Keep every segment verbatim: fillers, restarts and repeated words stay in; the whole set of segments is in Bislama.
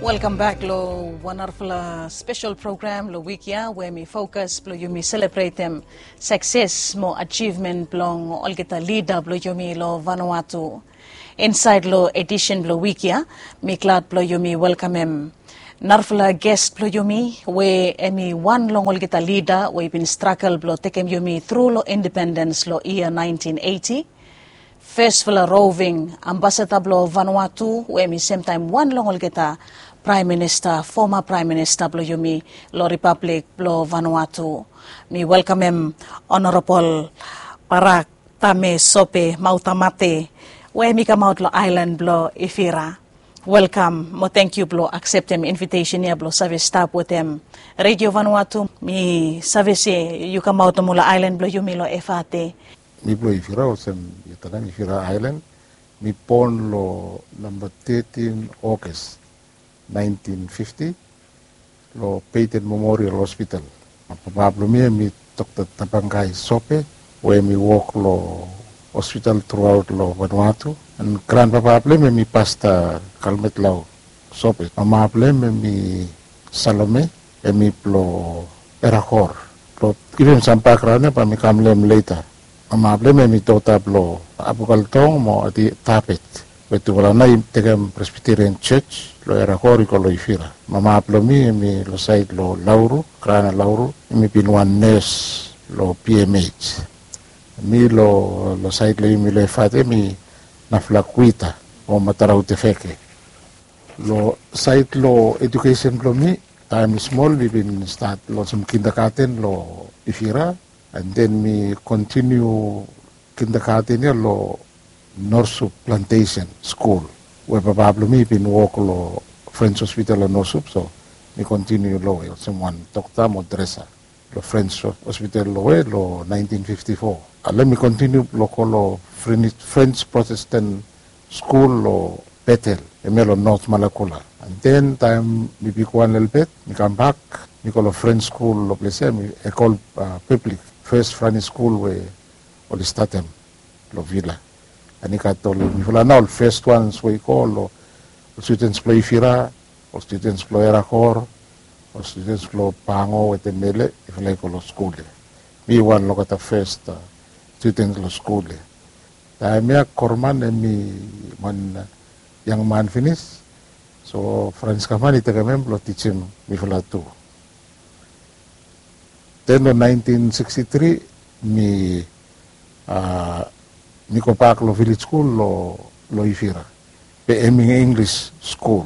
Welkam bek lo wan narafala spesel program lo wik ya we mi fokas blo yumi selebretem sakses mo ajivmen blong olgeta lida blo yumi lo Vanuatu. Insaed lo edisen blo wik ya, mi glad blo yumi welkamem narafala ges blo yumi we em i wan long olgeta lida we i bin stragel blo tekem yumi tru lo independens lo yia naentin eiti. Fesfala roving ambasada blo Vanuatu we em i semtaem wan long olgeta praem minista, foma praem minista blo yumi lo Ripablik blo Vanuatu. Mi welkamem Honorabol Barak Tame Sope Mautamate we em i kamaot lo aelan blo Ifira. Welkam mo tangkiu blo akseptem invitesen ya blo save stap wetem Redio Vanuatu. Mi save se yu kamaot nomo lo aelan blo yumi lo Efate. Mi blo Ifira, olsem yu talem, Ifira aelan. Mi bon lo namba tetin Oges naentin fifti lo Peyton Memorial Hospital. Papa blo mi em i Dokta Tabangai Sope we em i wok lo hospital truaot lo Vanuatu. An granpapa blo em em i Pasta Kalmetlau Sope. Mama blo em em i Salome, em i blo Erakor. Blo givim sam bakgraon ya bae mi kam lo hem leta. Mama blo em em i dota blo Abukaltong mo Ati Tapet, we tufala nao i tekem Presbyterian Church lo Erakor i go lo Ifira. Mama blo mi em i lo saed lo Lauru, Grana Lauru, em i bin wan nes lo B M H. Mi lo, lo saed lo yumi lo Efate em i Naflakuita o Matarau Tefeke. Lo saed lo edukesen blo mi, taem mi smol mi bin stat lo olsem kindagaten lo Ifira, an den mi kontiniu kindagaten ya lo Norsup Plantation Skul, we papa blo mi i bin wok lo French Hospital lo Norsup, so mi kontiniu lo we olsem wan dokta mo dresa lo French Hospital lo we lo naentin fifti fo. Ale mi kontiniu blo go lo French, French Protestant Skul lo Betel, hemia lo North Malakula. An den taem mi bigwan lelebet, mi kambak, mi go lo French Skul lo ples ya, mi Ecole, a, Publique, fes French Skul we oli statem lo Vila. An i gat ol, mifala nao ol fes wans we i go lo, ol studens blo Ifira, ol studens blo Erakor, ol studens blo Pango wetem Mele, mifala i go lo skul ya. Mi wan lo olgeta fes, a, studens lo skul ya. Taem ya Korman em i wan, a, yangman finis. So Frans Kaman i tekem hem blo tijim mifala tu. Den lo naentin siksti tri mi, a, mi gobak lo vilej skul lo, lo Ifira, be hem i Inglis skul.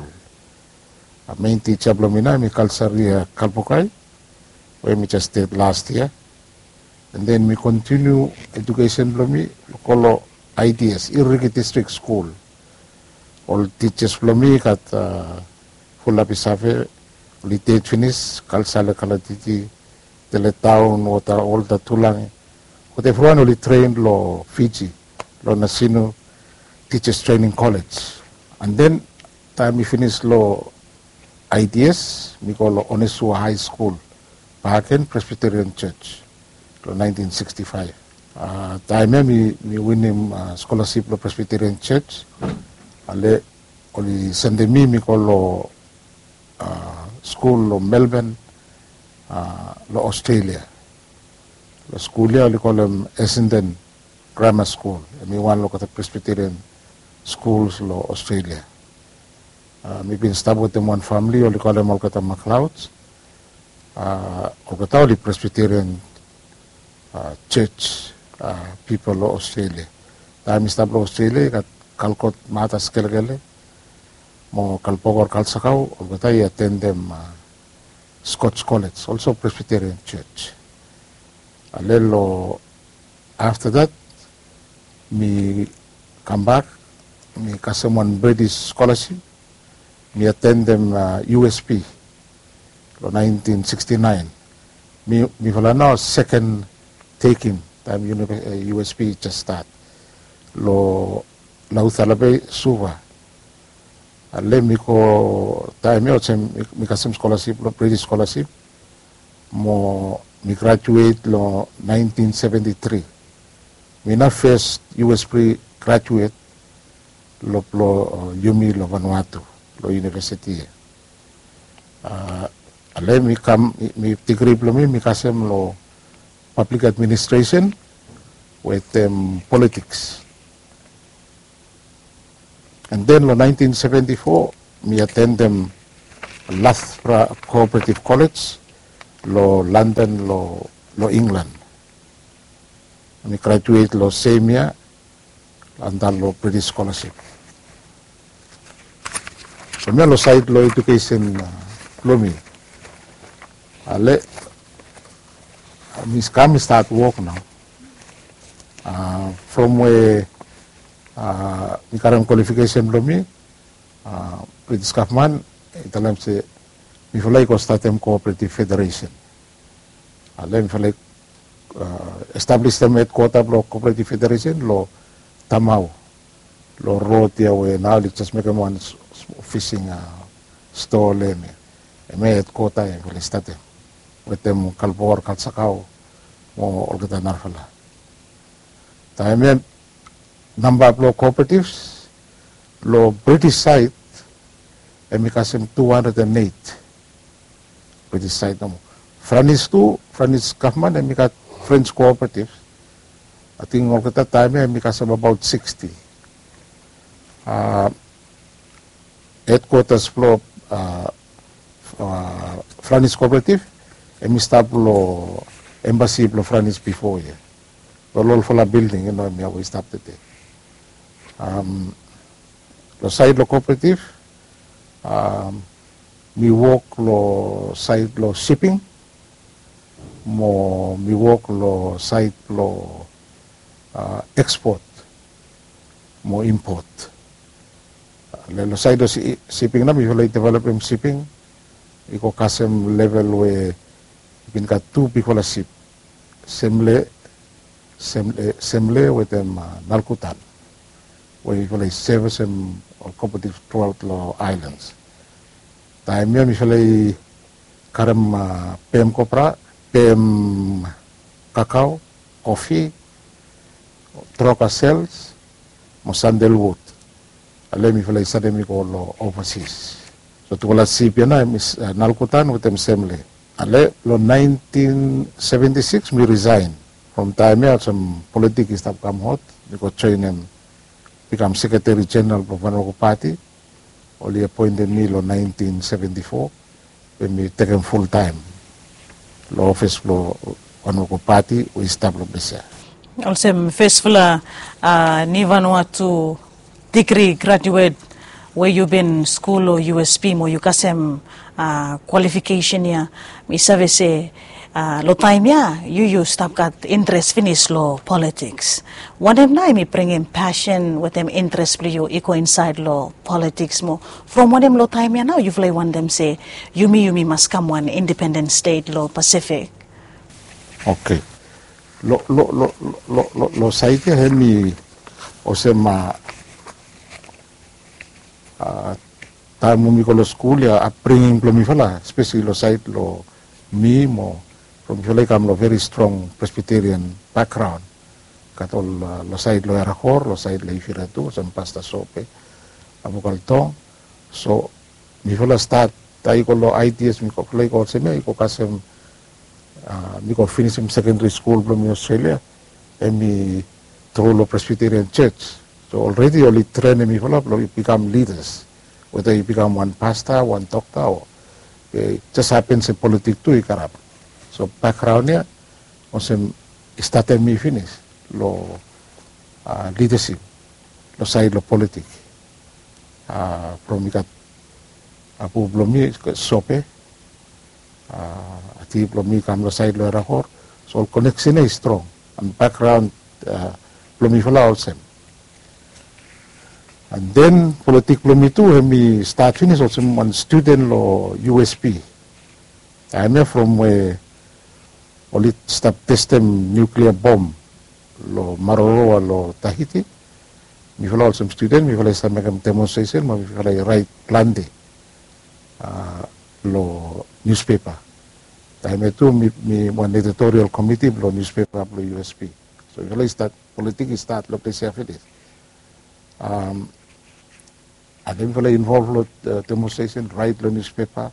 A, mein tija blo mi nao hem i Kalsaria Kalpokai, we mi jes ded las yia. An den mi kontiniu edukesen blo mi lo go lo I D S, Irriki District Skul. Ol tijas blo mi gat, a, Fulabi Save, oli ded finis, Kalsale Kalatiti, Teletaun, Wota, Wolta Tulangi. But evriwan oli tren lo Fiji, lo Nasinu Teachers Training College. An den taem mi finis lo I D S, mi go lo Onesua High Skul, Bahaken Presbyterian Church, lo naentin siksti faef. A, taem ya mi, mi winim, a, skolasip lo Presbyterian Church. Ale oli sendem mi, mi go lo, a, skul lo Melbourne, a, lo Australia. Lo skul ya oli kolem Essendon Grammar School, hem i wan lo olgeta Presbyterian schools lo Australia. A, mi bin stap wetem wan famili oli kolem olgeta MacLeods. A, olgeta oli Presbyterian, a, church, a, pipol lo Australia. Taem mi stap lo Australia i gat Kalkot Matas Kelekele mo Kalbokor Kalsakau, olgeta i atendem, a, Scotch College, also Presbyterian Church. Ale lo afta dat mi kambak, mi kasem wan British scholarship, mi atendem, a, U S P lo naentin siksti naen. Mi, mifala nao seken tekem taem uni-, e, U S P i jes stat lo Laucala Bay, Suva. Ale mi go taem ya olsem mi, mi kasem skolasip, lo British skolasip, mo mi grajuet lo naentin seventi tri. Mi nao fes U S P grajuet lo, blo, e, yumi lo Vanuatu, lo univesiti ya. Ale mi kam, mi digri blong mi mi kasem long public administration wetem politiks. And then long nineteen seventy-four mi atendem Loughborough Cooperative College long London, long England. Mi graduate long sem yia anda long British scholarship. From ya long saed long edukesen blong mi, ale mi kam mi stat wok nao. From we mi karem kwalifikesen blong mi, British gavman i talem se mifala i go statem Cooperative Federation. Ale mifala i establisim hedkwota blong Cooperative Federation long Tamau, long rod ya we nao oli jes mekem wan fising stol ya. Hemia hedkwota ya mifala i statem wetem Kalbor, Kalsakao mo olgeta narafala. Taem ya namba blong cooperative long British saed hemi kasem two hundred and eight. British saed nomo. Franis tu, Franis gavman hemi gat French cooperative. Ating olgeta taem ya hemi kasem abaot sixty. Hedkwatas blong Franis cooperative hemi stap long embasi blong Franis bifo ya. Ol olfala bilding ya nao hemia we i stap tede. Long saed long cooperative mi wok long saed long shipping mo mi wok long saed blong ekspot mo impot. Long saed long shipping nao mifala i developem shipping i go kasem level we i bin gat tu bigfala sip, Semle, Semle wetem Nalkutan, we mifala i sevisem ol cooperative truaot long aelans. Taem ya mifala i karem pem kopra, pem kakao, kofi, troka sels mo sandelwud. Ale mifala i sanem i go long ovasis. So tufala sip ya nao hemi Nalkutan wetem Semle. Ale long nineteen seventy-six mi risaen. From taem ya olsem politik i stap kam hot, mi go joenem, bikam sekreteri jeneral blong Vanuatu Pati. Oli apoentem mi long nineteen seventy-four, we mi tekem fultaem long ofis blong Vanuatu Pati we i stap long ples ya. Olsem fesfala ni Vanuatu digri graduet we yu bin skul long U S P mo yu kasem kwalifikesen ya, mi save se long taem ya yu yu stap gat interes finis long politiks. Wanem nao hemi bringim pasen wetem interes blong yu i go insaed long politiks mo from wanem long taem ya nao yufala i wantem se yumi yumi mas kam wan independen stet long Pasifik? Oke. Long saed ya hemi olsem taem we mi go long skul ya, apbringing blong mifala espeseli long saed long mi mo from mifala i kam long veri strong Presbyterian bakgraon. Gat ol long saed long Erakor, long saed long Ifira tu olsem Pasta Sope, Abukaltong. So mifala stat, taem i go long ideas mifala i go olsem ya i go kasem mi go finisim sekendari skul blong mi Australia, hemi tru long Presbyterian Church. So olredi oli trenem mifala blong bikam lidas, weda yu bikam wan pasta, wan dokta o jes hapen se politik tu i karap. So bakgraon ya olsem i statem mi finis long lidasip long saed long politik. From i gat apu blong mi Sope, ati blong mi kam long saed long Erakor. So ol koneksen ya i strong. An bakgraon blong mifala olsem. An den politik blong mi tu hemi stat finis olsem wan studen long U S P. Taem ya from we oli stap testem niuklia bom long Maroroa long Tahiti, mifala olsem studen mifala i save mekem demonstresen mo mifala i raet plante long niuspepa. Taem ya tu mi wan editorial komiti blong niuspepa blong U S P. So mifala i stat, politik i stat long ples ya finis. Afta mifala i involv long demonstresen, raet long niuspepa.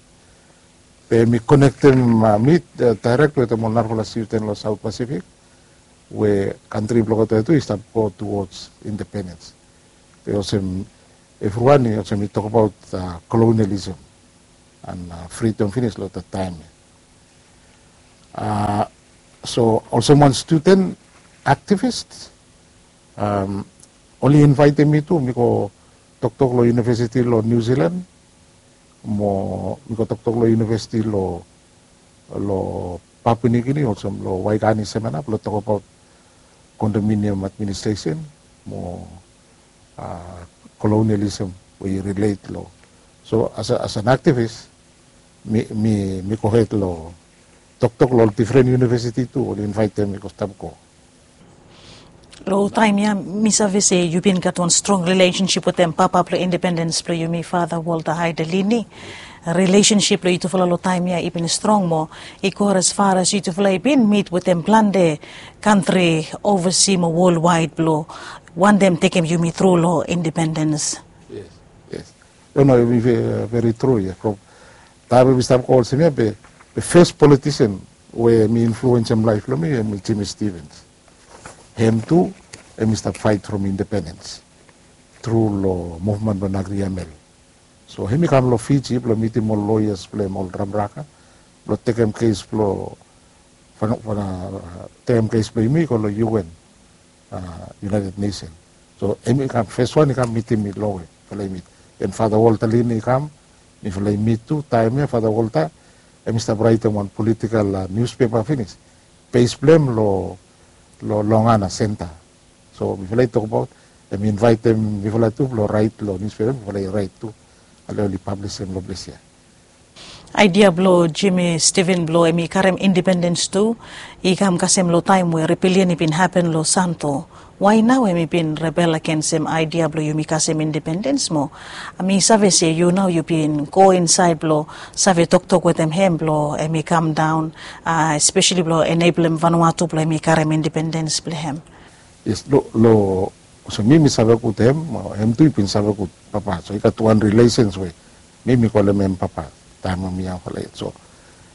Be mi konektem mi daerek wetem ol narafala student long South Pacific we kantri blong olgeta tu i stap go towards independens. Be olsem evriwan i olsem i tokbaot kolonialism and fridom finis long olgeta taem ya. So olsem wan studen aktivist, oli invaetem mi tu mi go toktok long univesiti long Niu Silan, mo mi go toktok long univesiti long Papua Niu Gini olsem long Waikani semena blong tokbaot kondominium administresen mo kolonialism we i rilet long. So as an aktivis mi gohed long toktok long ol difren univesiti tu oli invaetem mi go stap go. Long taem ya mi save se yu bin gat wan strong rilesensip wetem papa blong independens blong yumi, Fata Walta Haidelini. Rilesensip blong yutufala long taem ya i bin strong mo i go as far as yutufala i bin mit wetem plante kantri ovasi mo wolwaed blong wantem tekem yumi tru long independens. Yes, yes. No, no, i veri tru ya. From taem we mi stap go olsem ya be fes politisen we mi influensem laef blong mi em i Jimmy Stevens. Hem tu em i stap faet from independens tru long muvmen blong Nagri Amel. So hem i kam long Fiji blong mitim ol loyas blong hem, ol dramraka, blong tekem kes blong tekem kes blong yumi i go long UN, United Nation. So hem i kam feswan i kam mitim mi long we mifala i mit. Then Fata Walta Lini i kam, mifala i mit tu. Taem ya Fata Walta hem i stap raetem wan politikal niuspepa finis, bes blong hem long Longana Senta. So mifala i tokbaot, hem i invaetem mifala tu blong raet long niuspepa, mifala i raet tu. Ale oli pablisem long ples ya. Aedia blong Jimmy Stevens blong hem i karem independens tu i kam kasem long taem we rebelian i bin hapen long Santo. Wae nao hem i bin rebel agensem aedia blong yumi kasem independens mo mi save se yu nao yu bin go insaed blong save toktok wetem hem blong hem i kamdaon, espeseli blong eneblem Vanuatu blong hem i karem independens blong hem. Yes, long olsem mi mi save gud hem, hem tu i bin save gud papa. So i gat wan rilesens we mi mi kolem hem papa taem we mi yangfala yet. So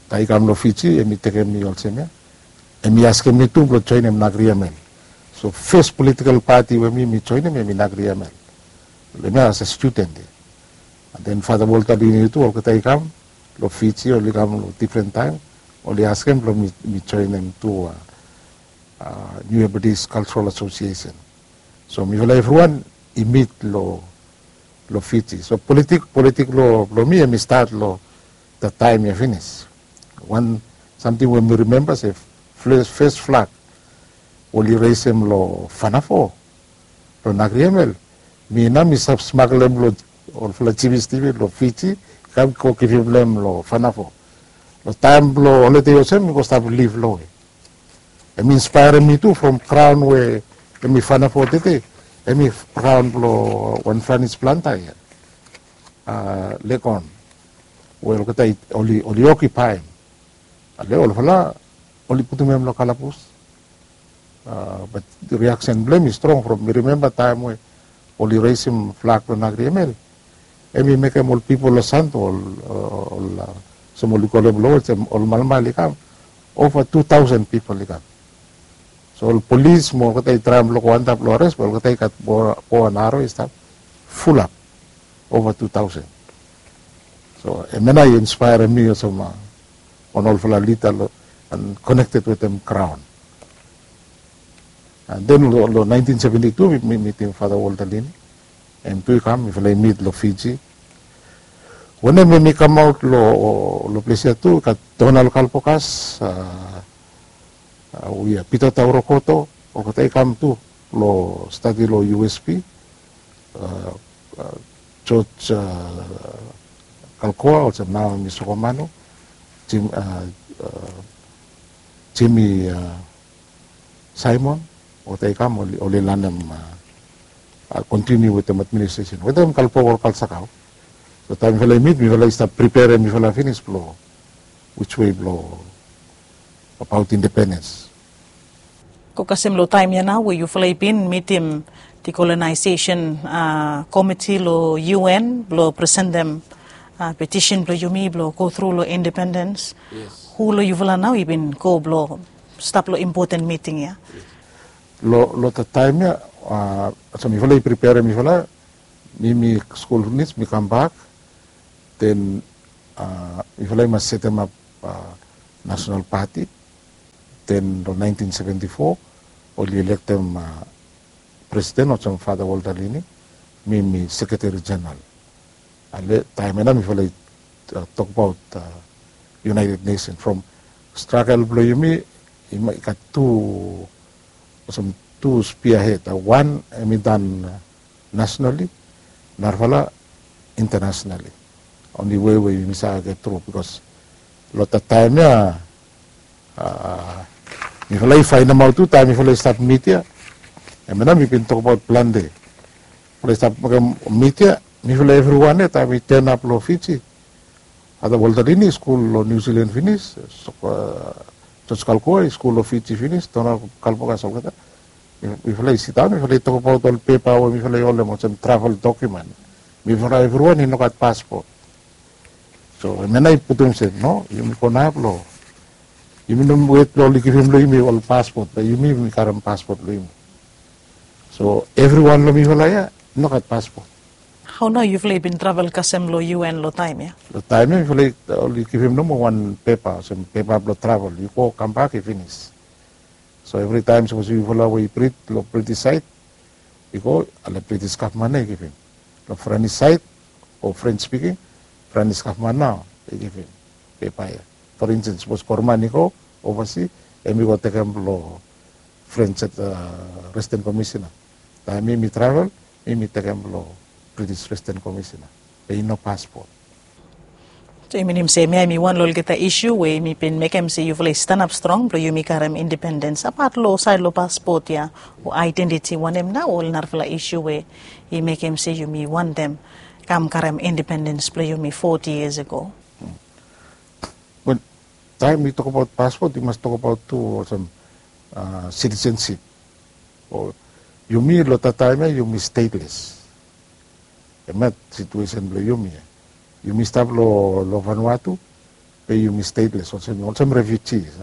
taem i kam long Fiji hem i tekem mi olsem ya, hem i askem mi tu blong joenem Nagri Amel. So fes politikal pati we mi mi joenem hem i Nagri Amel. Long hem ya as a studen ya. And then Fata Walta Lini tu olgeta i kam long Fiji, oli kam long difren taem, oli askem blong mi joenem tu New Hebrides Cultural Association. So mifala evriwan i mit long Fiji. So politik, politik blong mi hem i stat long taem ya finis. Wan samting we mi rimemba se fes flag oli resem long Fanafo, long Nagri Amel, mi nao mi stap smaglem long olfala Jimmy Stevens long Fiji, kam go givim long hem long Fanafo. Long taem blong holide olsem mi go stap liv long we hem i inspaerem mi tu from graon we hem i Fanafo tede, hem i graon blong wan Franis planta ya, Legon, we olgeta oli okipaem. Ale olfala oli putum hem long kalabus. Bat riaksen blong hem i strong from mi rimemba taem we oli resem flag blong Nagri Amel, hem i mekem ol pipol long Santo, ol olsem oli kolem long olsem ol malmal i kam, ova tu taosen pipol i kam. So ol polis mo olgeta i traem blong go antap long ares, be olgeta i gat bo and aro i stap, fulap, ova tu taosen. So hemia nao i inspaerem mi olsem wan olfala lida konekted wetem graon. And then long naentin seventi tu mi mitim Fata Walta Lini, hem tu i kam, mifala i mit long Fiji. Wanem hem i kamaot long ples ya tu i gat Donald Kalpokas, we ya Pita Taurokoto, olgeta i kam tu long stadi long USP. George Kalkoa olsem nao hem i Sokomanu, Jimmy Simon, olgeta i kam oli lanem, kontiniu wetem administresen wetem Kalpoa Kalsakau. So taem mifala i mit mifala i stap priperem mifala finis blong wiswe blong abaot independens. Go kasem long taem ya nao we yufala i bin mitim dekolonasesen komiti long UN blong presentem Petisen blong yumi blong go tru long independens. Hu long yufala nao i bin go blong stap long impoten miting ya? Long long taem ya, olsem mifala i priperem mifala. Mi mi skul finis mi kambak. Den mifala i mas setemap nasonal pati. Den long naentin seventi fo oli elektem presiden olsem Fata Walter Lini. Mi mi sekreteri jeneral. Ale taem ya nao mifala i tokbaot United Nesen from stragel blong yumi. I gat tu olsem tu spia hed. Wan hem i dan nasenali, narafala intanasonali. Onli wei we yumi save get tru bikos long taem ya mifala i faenemaot tu taem mifala i stap mit ya. Hem ya nao mi bin tokbaot plante. Mifala i stap mekem mit ya. Mifala evriwan ya taem i tenap long Fiji. Fata Walter Lini i skul long Niu Silan finis. Jos Kalkoa i skul long Fiji finis. Donald Kalpokas olgeta. Mifala i sidaon mifala i tokbaot ol pepa we mifala i holem olsem travel dokumen. Mifala evriwan i no gat paspot. So hem ya nao i putum se no, yumi go nao blong yumi no wet blong oli givim long yumi ol paspot, be yumi yumi karem paspot blong yumi. So evriwan long mifala ya i no gat paspot. Hao nao yufala i bin travel kasem long UN long taem ya? Long taem ya mifala oli givim nomo wan pepa olsem pepa blong travel, yu go kambak i finis. So evritaem sapos yufala we i brit long British saed i go, ale British gavman nao i givim. Long Frenis saed o French spiking, Frenis gavman nao i givim pepa ya. For instance sapos Korman i go ovasi, hem i go tekem long French residen komisena. Taem mi mi travel, mi mi tekem long British residen komisena. Be i no paspot. So i minim se hemia hemi wan long olgeta isu we yumi bin mekem se yufala i stanap strong blong yumi karem independens apat long saed long paspot ya o aedentiti, wanem nao ol narafala isu we i mekem se yumi wantem kam karem independens blong yumi foti yias ago? Wel, taem yu tokbaot paspot yu mas tokbaot tu olsem sitisensip. Yumi long taem ya yumi stateles. Hemia situesen blong yumi ya. Yumi stap long Vanuatu, be yumi stateles olsem refugees.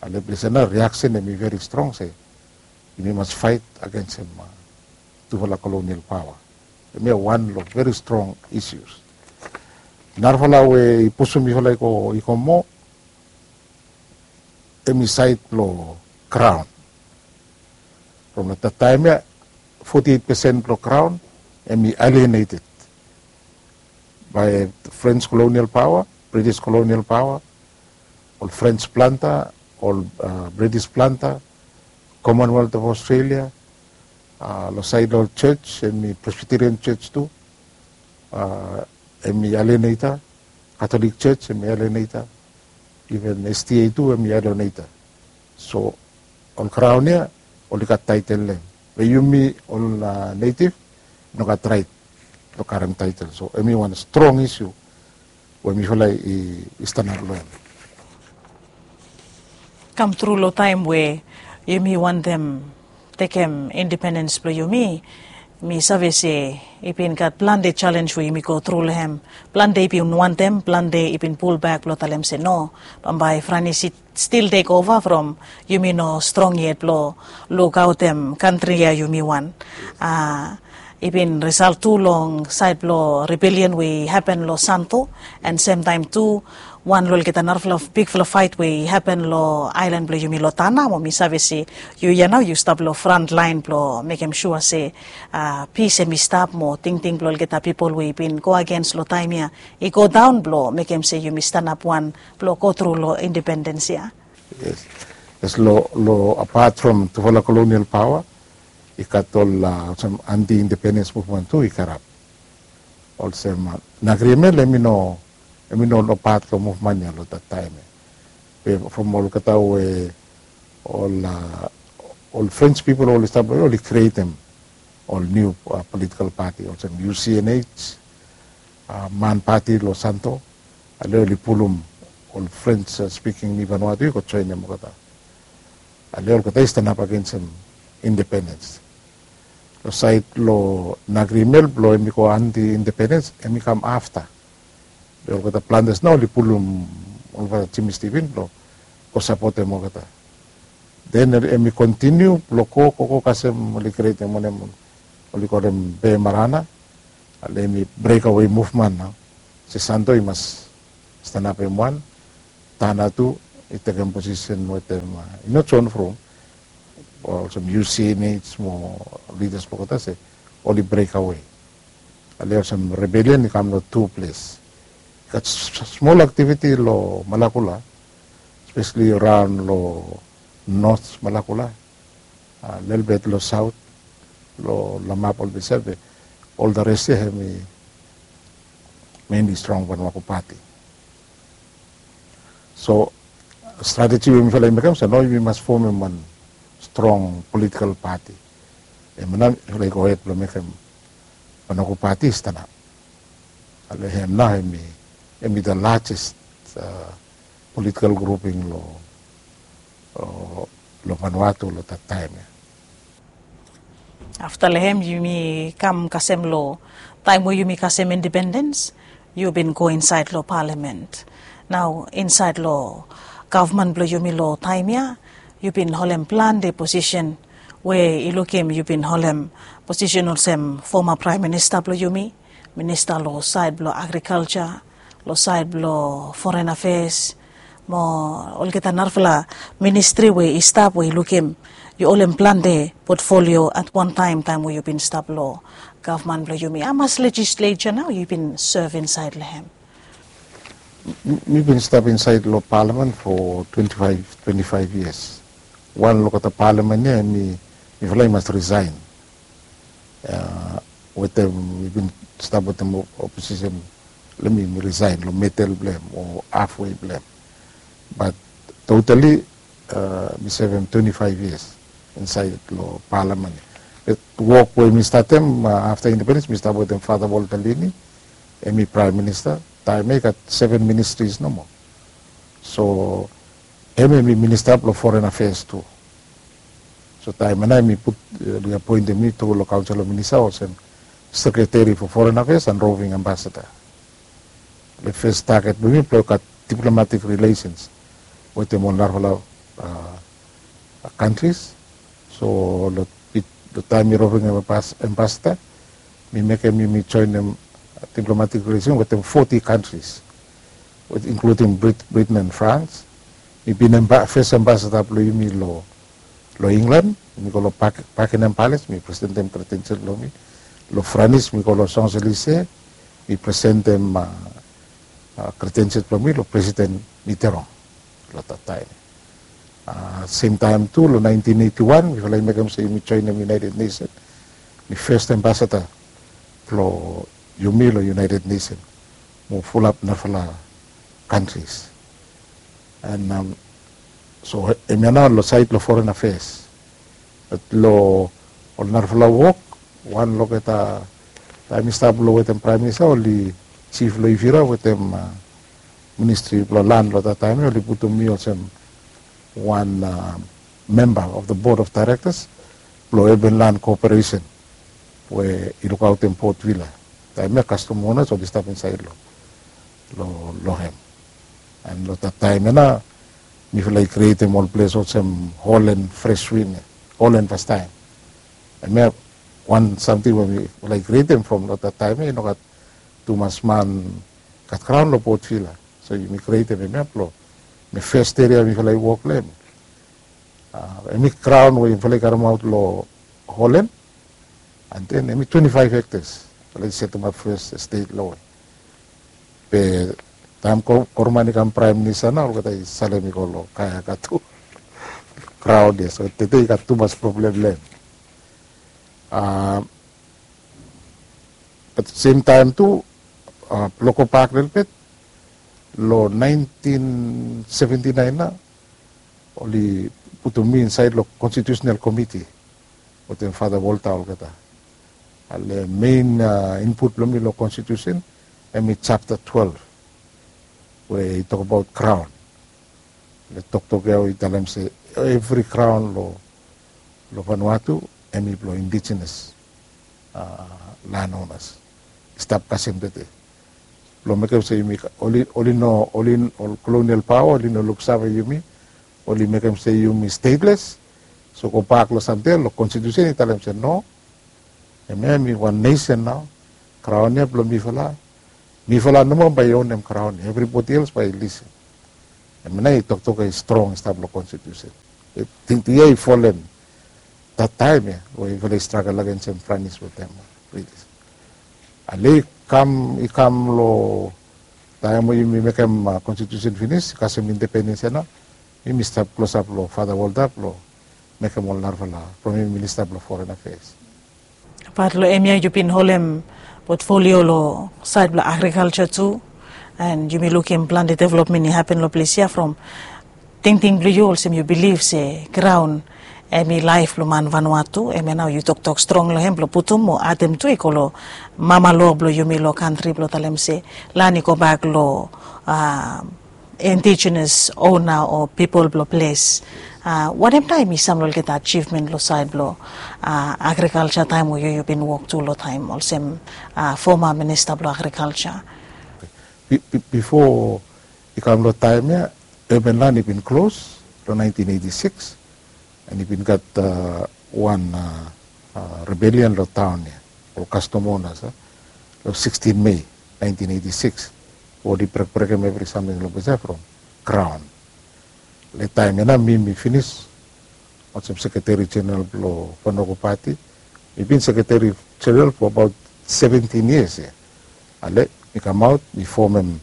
Ale ples ya nao riaksen hemi veri strong se yumi mas faet agensem tufala kolonial paoa. Hemia wan long veri strong isus. Narafala we i pusum yufala i go i go moa hemi saed blong kraon. From long taem ya foti eit pesen blong kraon hemi alieneted bae French kolonial paoa, British kolonial paoa, ol French planta, ol British planta, Commonwealth of Australia. Long saed long ol jos hemi Presbyterian jos tu, hemi alieneta. Katolik jos hemi alieneta. Iven SDA tu hemi alieneta. So ol kraon ya oli gat taetel long hem, be yumi ol netiv i no gat raet blong karem taetel. So hemi wan strong isu we mifala i stanap long hem. Kam tru long taem we yumi wantem tekem independens blong yumi, mi save se i bin gat plante jalenj we yumi go tru long hem. Plante i bin wantem, plante i bin pulbak blong talem se no, bambae Franis i stil tekova from yumi no strong yet blong lukaotem kantri ya yumi wan. I bin risalt tu long saed blong ribelian we i hapen long Santo, an semtaem tu wan long olgeta narafala bigfala faet we i hapen long aelan blong yumi long Tana, mo mi save se yu ya nao yu stap long frantlaen blong mekem sua se pis hemi stap mo tingting blong olgeta pipol we i bin go agens long taem ya i go daon blong mekem se yumi stanap wan blong go tru long independens ya. Yes. Yes, long apat from tufala kolonial paoa i gat ol olsem anti independens muvman tu i karap. Olsem Nagriemel hemi no hemi no no pat long muvman ya long dat taem ya. Be from olgeta we ol ol French pipol oli stap long oli krietem ol niu politikal pati olsem UCNH, MAN pati long Santo. Ale oli pulum ol French spiking Vanuatu i go joenem olgeta. Ale olgeta i stanap agensem independens. Long saed long Nagriemel blong hemi go anti independens hemi kam afta. Olgeta plantas nao oli pulum olgeta Jimmy Stephen blong go sapotem olgeta. Den em i kontiniu blong go go go kasem oli krietem wanem, oli kolem Be Marana. Ale em i brekawe muvman nao. Sesanto i mas stanapem wan, Tana tu i tekem posisen wetem, i no John From, olsem U C N H mo lidas blong olgeta se oli brekawe. Ale olsem rebelian i kam long tu ples. I gat smol aktiviti long Malakula, spesali raon long North Malakula, lelebet long Saot, long Lamap, ol Bisep, be ol the rest ya hem i mainly strong Vanuatu pati. So strateji we mifala i mekem se nao yumi mas fomem wan strong politikal pati. Hem nao mifala i go hed blong mekem Vanuatu pati i stanap. Ale hem nao hem i, hem i the largest politikal grouping long, long Vanuatu long that taem ya. Afta long hem yumi kam kasem long taem we yumi kasem independens, yu bin go insaed long palamen. Nao insaed long gavman blong yumi long taem ya, yu bin holem plante posisen we i lukim yu bin holem posisen olsem foma praem minista blong yumi, minista long saed blong agrikalja, long saed blong foren afeas, mo olgeta narafala ministri we i stap we i lukim yu holem plante potfolio at wan taem, taem we yu bin stap long gavman blong yumi. Hamas lejisleja nao yu bin sev insaed long hem? Mi bin stap insaed long palamen fo twenti faef, twenti faef yias. Wan long olgeta palamen ya hem i, mifala i mas risaen. Wetem, mi bin stap wetem oposisen, long mi, mi risaen long medel blong hem o hafwe blong hem. Bat totali mi sevem twenti faef yias insaed long palamen. Be wok we mi statem afta independens, mi stap wetem Fata Walter Lini, hem i praem minista. Taem ya i gat seven ministries nomo. So hem hem i minista blong foren afeas tu. So taem ya nao hem i put, oli apoentem mi tu long kaonsel of minista olsem sekreteri fo foren afeas and roving ambasada. Long fes taget blong mi blong gat diplomatik rilesens wetem ol narafala kantris. So long taem mi roving ambasada, mi mekem yumi joenem diplomatik rilesens wetem foti kantris, inkludim Britain and France. Mi bin fes ambasada blong yumi long England, mi go long Buckingham Palace, mi presentem kredensial blong mi. Long France mi go long Champs-Élysées, mi presentem kredensial blong mi long Presiden Mitterrand long that taem. Semtaem tu long naentin eiti wan mifala i mekem se yumi joenem United Nation. Mi fes ambasada blong yumi long United Nation mo fulap narafala kantris. And so hemia nao long saed long foren afeas. Bat long ol narafala wok, wan long olgeta, taem mi stap long wetem praem minista, oli jif long Ivira wetem ministri blong lan long that taem ya oli putum mi olsem wan memba of the board of directors blong urban land cooperation we i lukaotem Port Vila. Taem ya kastom onas oli stap insaed long, long hem. And long that taem ya nao mifala i krietem ol ples olsem Holland Fresh Wind, Holland fastaem. Hemia wan samting we mifala i krietem from long that taem ya i no gat tumas man gat graon long Port Vila. So yumi krietem hemia blong, hemi fes eria mifala i wok long hem. Hemi graon we yufala i karemaot long Holland, and then hemi twenti faef hektas. Yufala i setemap fes stet long hem. Be taem Koroman i kam praem minista nao olgeta i salem i go long Kayaka tu. Graon ya, so tede i gat tumas problem long hem. Bat semtaem tu, blong gobak lelebet, long naentin seventi naen nao oli putum mi insaed long konstitiusenal komiti wetem Fata Volta olgeta. Ale mein input blong mi long konstitiusen hemi japta twelef we i tokbaot graon. Long toktok ya we i talem se evri graon long Vanuatu hemi blong indigenes landonas i stap kasem tede. Blong mekem se yumi oli oli no oli ol kolonial paoa oli no luksave yumi, oli mekem se yumi stateless. So gobak long samting ya long konstitusen i talem se no, hemia mi wan nesen nao. Kraon ya blong mifala. Mifala nomo bae i onem kraon ya, evribodi els bae i lisin. Hemia nao i toktok ya i strong i stap long konstitusen. Tingting ya i folem dat taem ya we yufala i stragel agens hem franis wetem britis. Ale i kam i kam long taem we yumi mekem konstitusen finis kasem independens ya nao, yumi stap klosap long fada wolda blong mekem ol narafala from yumi minista blong foren afeas. Bat long hemia yu bin holem potfolio long saed blong agrikalja tu, and yumi lukim plante developmen i hapen long ples ya from tingting blong yu olsem yu bilif se graon hem i laef blong man vanua tu. Hemia nao yu toktok strong long hem blong putum o adem tu i go long mama loa blong yumi long kantri blong talem se lan i gobak long indigenous ona o pipol blong ples. Wanem taem i sam long olgeta ajivmen long saed blong agrikalja taem we yu yu bin wok tu long taem olsem foma minista blong agrikalja? Bifo i kam long taem ya, urban lan i bin klos long naentin eiti sikis, and i bin gat wan rebelian long taon ya, ol kastom onas ya, long sikstin Mei naentin eiti sikis, oli brekbrekem evri samting long ples ya from graon. Long taem ya nao mi mi finis olsem sekreteri jeneral blong Vanua Equal Pati. Mi bin sekreteri jeneral fo abaot seventin yias ya. Ale mi kamaot mi fomem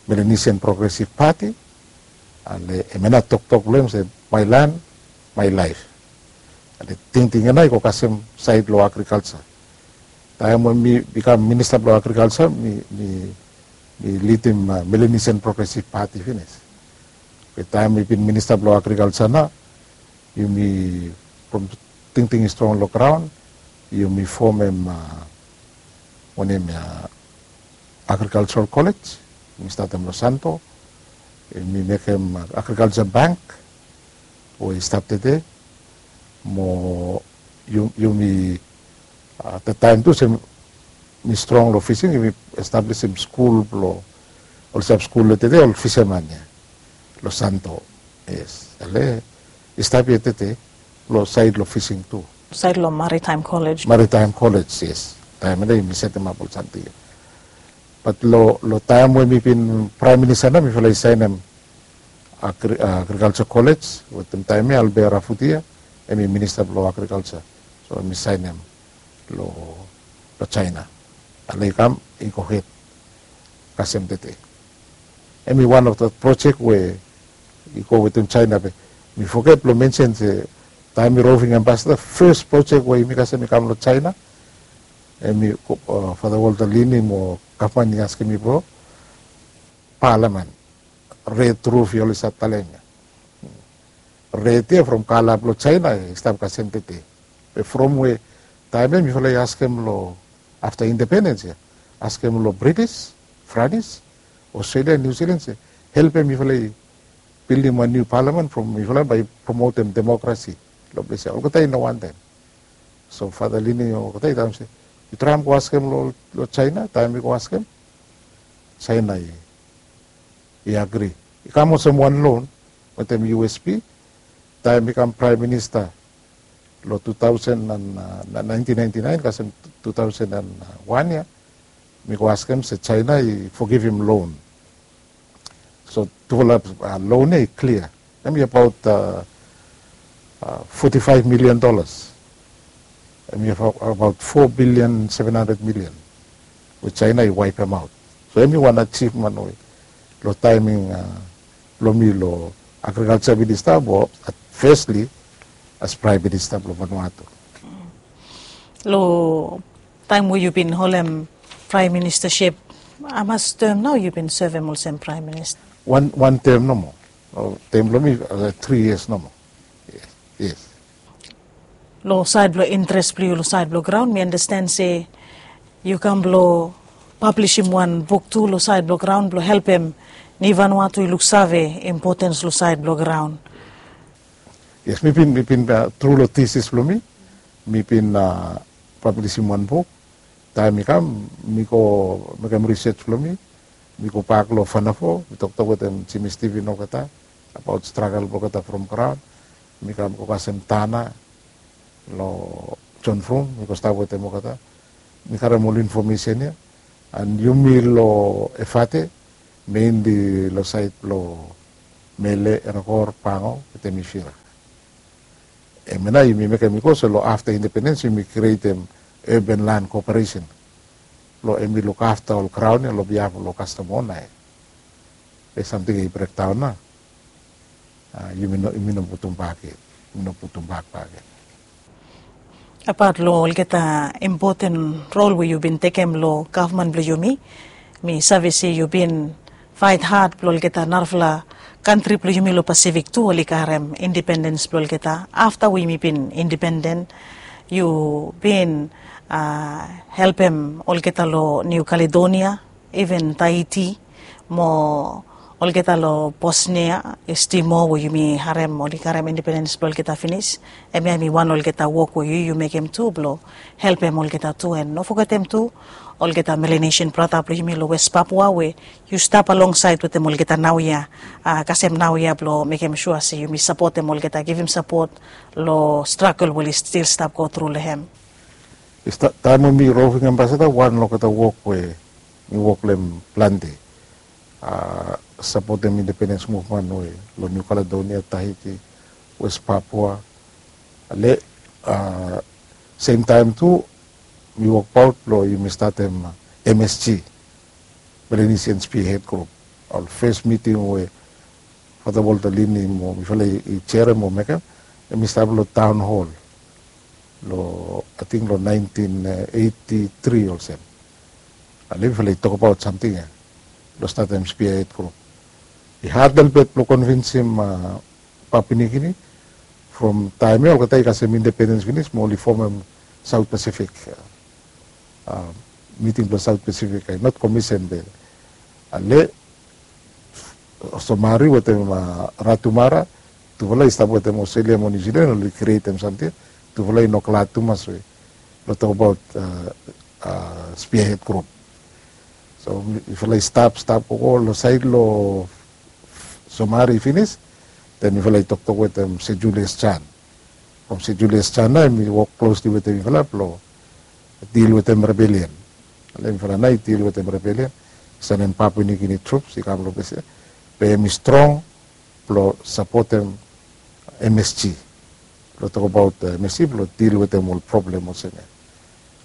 Melanesian Progressive Party. Ale hemia nao toktok blong hem se my land, my life. Ale tingting ya nao i go kasem saed long agrikalja. Taem we mi bikam minista blong agrikalja mi mi mi lidim Melanesian Progressive Party finis. Be taem mi bin minista blong agrikalja nao, yumi from tingting i strong long graon, yumi fomem wanem ya, agrikaljaral kolej. Mi statem long Santo, mi mekem agrikalja bank we i stap tede. Mo yumi, dat taem tu se mi strong long fising, yumi establisim skul blong ol stap skul long tede ol fiseman ya long Santo. Yes, ale i stap ya tede long saed long fising tu. Saed long Maritime College. Maritime College, yes. Taem ya nao yumi setemap ol samting ya. Bat long taem we mi bin praem minista nao mifala i saenem agrikalja kolej wetem taem ya Albert Rafutia, hem i minista blong agrikalja. So hem i saenem long Jaena. Ale i kam i gohed kasem tede. Hem i wan of dat projek we i go wetem Jaena. Be mi foget blong mensen se taem mi roving ambasada, fes projek we yumi kasem i kam long Jaena, hem i fada Walter Lini mo gavman i askem mi blong palamen, red ruf i oli save talem ya. Red ya from kala blong Jaena i stap kasem tede. Be from we taem ya mifala i askem long afta independens ya, askem long Britis, Franis, Australia, New Zealand se helpem mifala i bildim wan niu palamen from mifala bae i promotem demokrasi long ples ya. Olgeta i no wantem. So fada Lini olgeta i talem se yu traem go askem long Jaena. Taem mi go askem, Jaena i agri. I kam olsem wan lon wetem U S P. Taem mi kam praem minista long tu taosen and naentin naenti naen kasem tu taosen and wan ya, mi go askem se Jaena i fogivim lon. So tufala lon ya i klia. Hem i abaot foti faef milian dolas. Hem i abaot fo bilian seven handred milian we Jaena i waepemaot. So hem i wan ajivmen we long taem blong mi long agrikalja minista, mo fesli as praem minista blong Vanuatu. Long taem we yu bin holem praem ministasip, hamas tem nao yu bin sevem olsem praem minista? Wan tem nomo. Tem blong mi tri yias nomo. Yes. Long saed blong interes blong yu long saed blong graon, mi andasten se yu kam blong pablisim wan buk tu long saed blong graon blong helpem ni Vanuatu i luksave impotens long saed blong graon. Yes, mi bin mi bin tru long tisis blong mi, mi bin pablisim wan buk. Taem mi kam mi go mekem risej blong mi. Mi gobak long Fanafo, mi toktok wetem Jimmy Steven olgeta abaot stragel blong olgeta from graon. Mi kam go kasem tana long John From, mi go stap wetem olgeta. Mi karem ol infomesen ya. And yumi long Efate, mainly long saed blong Mele, Erekor, Pango wetem Ifira. Hemia nao yumi mekem bikos long afta independens yumi krietem urban land corporation blong hemi lukafta ol graon ya long biaf long kastom ona ya. Be samting ya i brekdaon nao. Yumi no putum bak yet. Yumi no putum bak bak yet. Apat long olgeta impoten rol we yu bin tekem long gavman blong yumi, mi save se yu bin faet had blong olgeta narafala kantri blong yumi long Pasifik tu oli karem independens blong olgeta. Afta we yumi bin independen, yu bin helpem olgeta long Niu Kaledonia, iven Taiti, mo olgeta long Bosnia, East Timor we yumi harem oli karem independens blong olgeta finis. Hemia hemi wan olgeta wok we yu yu mekem tu blong helpem olgeta tu. And no fogetem tu olgeta Melanesian brata blong yumi long West Papua we yu stap alongsaed wetem olgeta naoia, kasem naoia, blong mekem sua se yumi sapotem olgeta, givim sapot long stragel we oli stil stap go tru long hem. Taem we mi roving ambasada, wan long olgeta wok we mi wok long hem plante, sapotem independens muvman we long Niu Kaledonia, Taiti, West Papua. Ale, semtaem tu mi wokbaot blong yumi statem MSG, Melanesian Spearhead Group. Ol fes miting we Fata Walter Lini mo mifala i jerem mo mekem, hemi stap long town hall long, ating long naentin eiti tri olsem. Ale mifala i tokbaot samting ya blong statem Spearhead Group. I had lelebet blong konvinsim Papua New Guinea. From taem ya olgeta i kasem independens finis mo oli fomem South Pacific, miting blong South Pacific, i not komisen be. Ale Somare wetem Ratu Mara, tufala i stap wetem Australia mo New Zealand, oli krietem samting ya. Tufala i no glad tumas we long tokbaot Spearhead Group. So mifala i stap stap gogo long saed long Somare finis, den mifala i toktok wetem Sir Julius Chan. From Sir Julius Chan nao hemi wok klosli wetem mifala blong dil wetem rebellion. Ale mifala nao i dil wetem rebellion, sanem Papua New Guinea troops i kam long ples ya. Be hemi strong blong sapotem MSG, blong tokbaot MSG blong dil wetem ol problem olsem ya.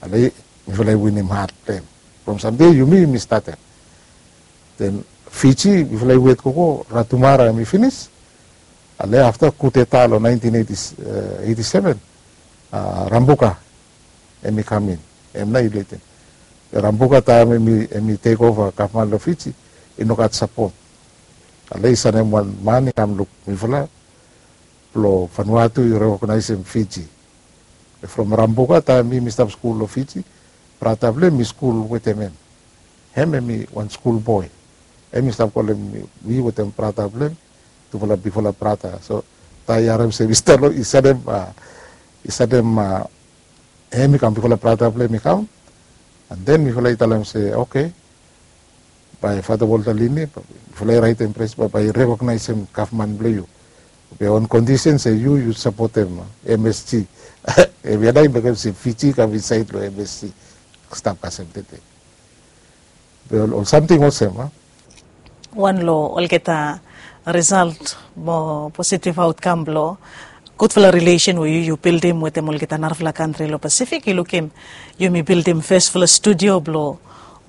Ale mifala i winim had blong hem. From samting ya yumi mi statem. Den Fiji mifala i wet gogo, Ratu Mara hemi finis. Ale afta kudeta long naentin eiti seven, Rabuka hemi kam in. Hem nao i lidim. Be Rabuka taem hemi tekova gavman long Fiji, i no gat sapot. Ale i sanem wan man i kam luk mifala blong Vanuatu i rekognaesem Fiji. From Rabuka, taem mi mi stap skul long Fiji, brata blong hem mi skul wetem hem. Hem hemi wan skul boe. Hem i stap kolem mi wetem brata blong hem, tufala bigfala brata. So taem i harem se mi stap long, i sanem, i sanem hem i kam, bigfala brata blong hem i kam. And then mifala i talem se, oke, bae Fata Walter Lini, mifala i raetem pres, bae i rekognaesem gavman blong yu. Be on kondisen se yu yu sapotem MSG. Hemia nao i mekem se Fiji i kam insaed long MSG, stap kasem tede. Be ol samting olsem a wan long olgeta risalt mo positiv autkam blong gudfala rilesen we yu yu bildim wetem olgeta narafala kantri long Pasifik, yu lukim yumi bildim fesfala studio blong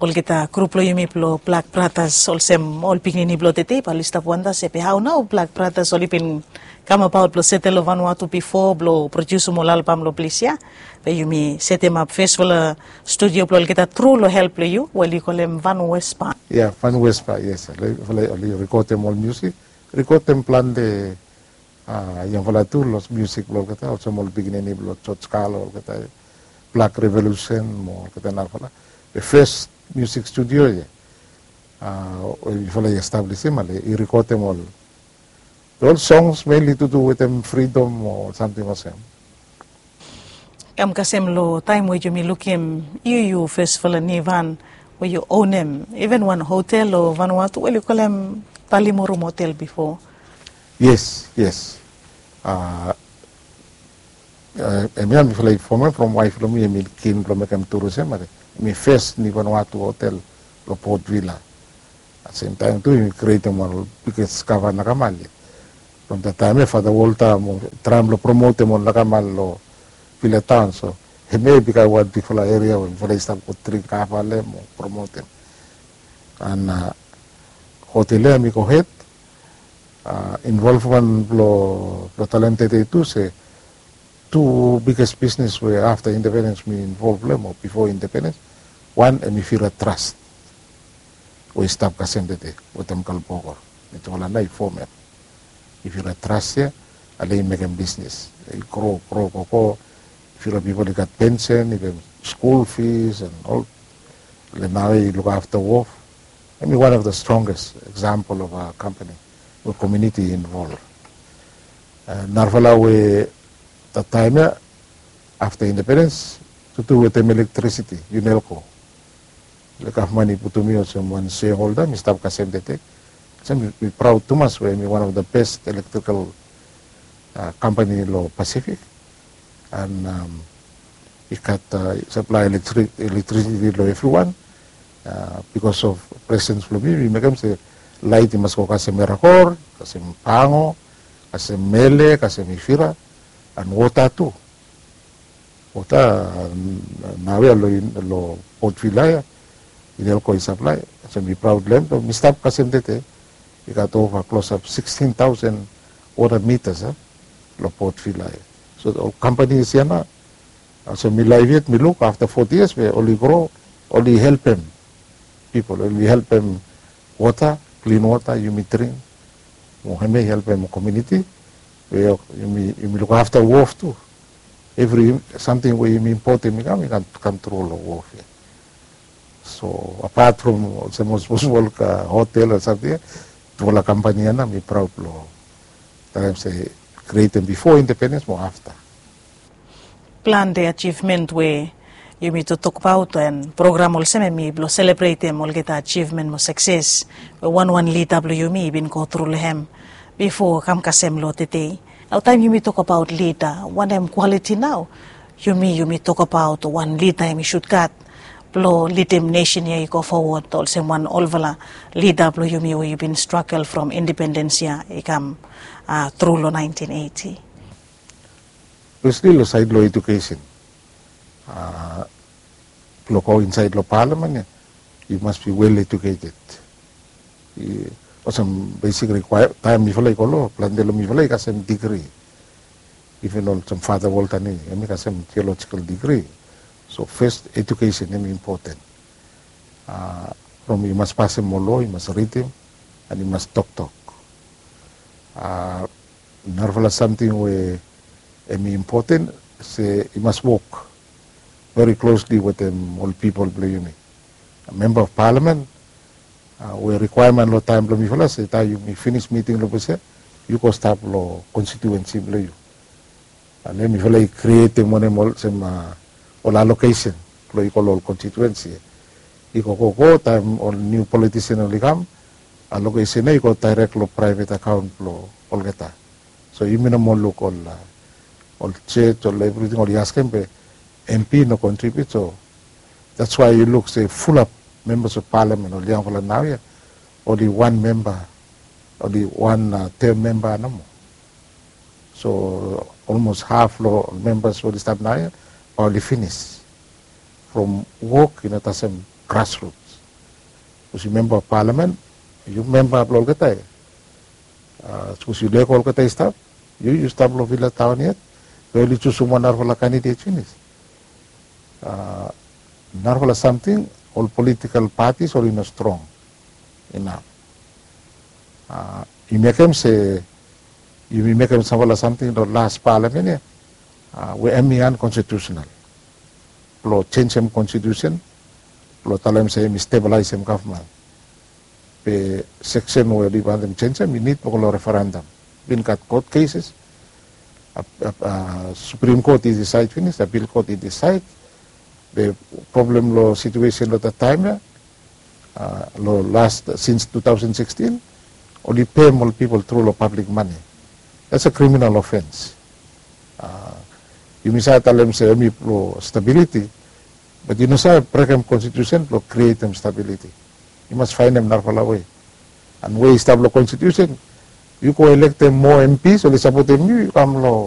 olgeta grup blong yumi blong Black Brothers, olsem ol pikinini blong tede bae oli stap wanda se be hao nao Black Brothers oli bin kamabaot blong setel long Vanuatu bifo blong prodiusim ol albam long ples ya. Be yumi setemap fesfala studio blong olgeta tru long help blong yu we oli kolem Van Wespa. Ya, Van Wespa, yes. Oli rekodem ol musik, rekodem plante yangfala tu long musik blong olgeta, olsem ol pikinini blong George Carl, olgeta Black Revolution mo olgeta narafala. Be fes musik studio ya we yufala i establisim, ale i rekodem ol, ol songs mainly tu du wetem freedom o samting olsem. Kam kasem long taem we yumi lukim yu, yu fesfala Nivan, We yu onem even wan hotel long Vanuatu, we yu kolem Talimorum Hotel bifo? Yes, yes. Hemia mifala i fomem from waef blong mi, hemi kin blong mekem turism, hemi fes ni Vanuatu hotel long Port Vila. At sem taem tu hemi krietem ol biges kava nakamal ya. From dat taem ya Fata Walter mo traem blong promotem ol nakamal long Vila Taon. So hemia i bikam wan bigfala eria we mifala i stap go dring kava long hem mo promotem. An hotel ya hemi gohed. Involvman blong talem tede tu se tu biges bisnes we afta independens mi involv long hem o bifo independens. Wan hemi Vira Trust we i stap kasem tede wetem Kalbogor. Mitufala nao i fomem. I Vira Trust ya, ale i mekem bisnes, i gro gro gogo. Vira pipol i gat pensen, i gat skul fis an ol. Ale nao i lukafta wof. Hemi wan of the strongest example of a company we komuniti i involv. Narafala we dat taem ya afta independens, tu tu wetem elektrisiti, Unelco. Gavman i putum mi olsem wan shareholder, mi stap kasem tede. Olsem mi praod tumas we hemi wan of the best electrical company long Pasifik. An i gat saplae elektrisiti long evriwan. Bikos of presens blong mi, mi mekem se laet i mas go kasem Erakor, kasem Pango, kasem Mele, kasem Ivira, an wota tu. Wota naoia long Port Vila ya, Inelco i saplae. Olsem mi praod long hem. Mi stap kasem tede, i gat ova klosap sikstin taosen wota mitas long Port Vila ya. So ol kampanis ya nao, olsem mi laef yet mi luk afta foti yias we oli gro, oli helpem pipol, oli helpem wota, klin wota yumi dring. Mo hemia i helpem komuniti we yumi lukafta wof tu. Evri samting we yumi impotem i kam, i kam tru long wof ya. So apat from olsem ol smosmol hotel o samting ya, tufala kampani ya nao mi praod long talem se krietem bifo independens mo afta. Plante ajivmen we yumi tokbaot, an program olsem hemi blong selebretem olgeta ajivmen mo sakses we wanwan lida blong yumi i bin gotru long hem bifo kam kasem long tede. Nao taem yumi tokbaot lida, wanem kwaliti nao yumi yumi tokbaot wan lida hemi sud gat blong lidim nesen ya i go fowod olsem wan olfala lida blong yumi we i bin stragel from independens ya i kam tru long naentin eiti? Fesli long saed long edukesen. Blong go insaed long palamen ya, yu mas bi wel eduketed. Olsem besik rikwaemen, taem mifala i go long, plante long mifala i kasem digri. Iven olsem Fata Walter ni, hemi kasem tiolojikal digri. So fes edukesen hemi impoten. From yu mas pasem ol loa, yu mas ridim, an yu mas toktok. Narafala samting we hemi impoten se yu mas wok veri klosli wetem ol pipol blong yumi. Memba of palamen, we rikwaemen long taem blong mifala se taem yumi finis miting long ples ya, yu go stap long konstitiuensi blong yu. Ale mifala i krietem wanem olsem ol alokesen blong i go long ol konstitiuensi. I go gogo taem ol niu politisen oli kam, alokesen ya i go daerek long praevet akaon blong olgeta. So yumi no moa luk ol, ol jos, ol evriting oli askem be MP no kontribiut. So that's why yu luk se fulap membas of palamen, ol yangfala naoia, oli wan memba, oli wan tem memba nomo. So olmos haf long ol membas oli stap naoia bae oli finis from wok i no tasem grasruts. Sapos yu memba of palamen, yu memba blong olgeta ya. Sapos yu lego olgeta i stap, yu yu stap long Vila Taon yet, be oli jusum wan narafala kandidet finis. Narafala samting, ol politikal patis oli no strong inaf. I mekem se yumi mekem samfala samting long las palamen ya we hemi ankonstitiusenal. Blong jenjem konstitiusen blong talem se hemi stebalaesem gavman. Be seksen we oli wantem jenjem i nid blong go long referendam. Bin gat kot keses, Suprem Kot i disaed finis, Apil Kot i disaed. Be problem long situesen long dat taem ya, long last since two thousand sixteen, oli pem ol pipol tru long pablik mane. That's a criminal offense. Yumi save talem se hemi blong stabiliti, bat yu no save brekem konstitusen blong krietem stabiliti. Yu mas faenem narafala wei. And wei i stap long konstitusen, yu go elektem moa M Ps oli sapotem yu, yu kam long